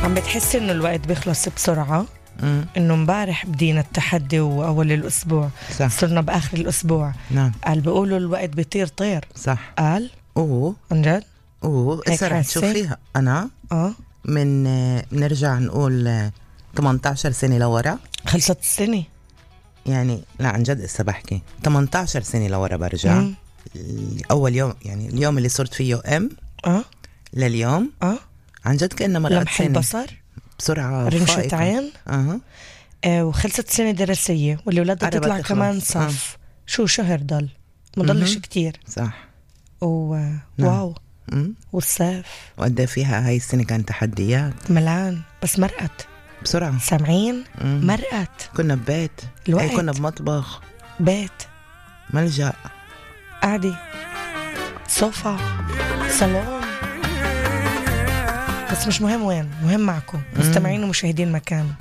عم بتحس إنه الوقت بيخلص بسرعة؟ إنه مبارح بدينا التحدي وأول الأسبوع صح. صرنا بآخر الأسبوع. نعم. قال بيقولوا الوقت بيطير طير. صح. قال عن جد؟ هسه رح تشوفيها. أنا من نرجع نقول 18 سنة لورا. خلصت السنة يعني لا عن جد هسه بحكي 18 سنة لورا برجع. أول يوم يعني اليوم اللي صرت فيه لليوم عن جد كأنه مرقت لمح سنة. البصر بسرعة رمشة عين. وخلصت سنة دراسية واللي ولادها تطلع كمان صف. شو شهر ضل مضلش كتير. صح. واو. والصيف وقد فيها هاي السنة كان تحديات ملان بس مرقت بسرعة. سامعين؟ مرقت. كنا ببيت الوقت. كنا بمطبخ بيت ملجأ قعدي صوفا صالون. بس مش مهم وين، مهم معكم مستمعين ومشاهدين مكان.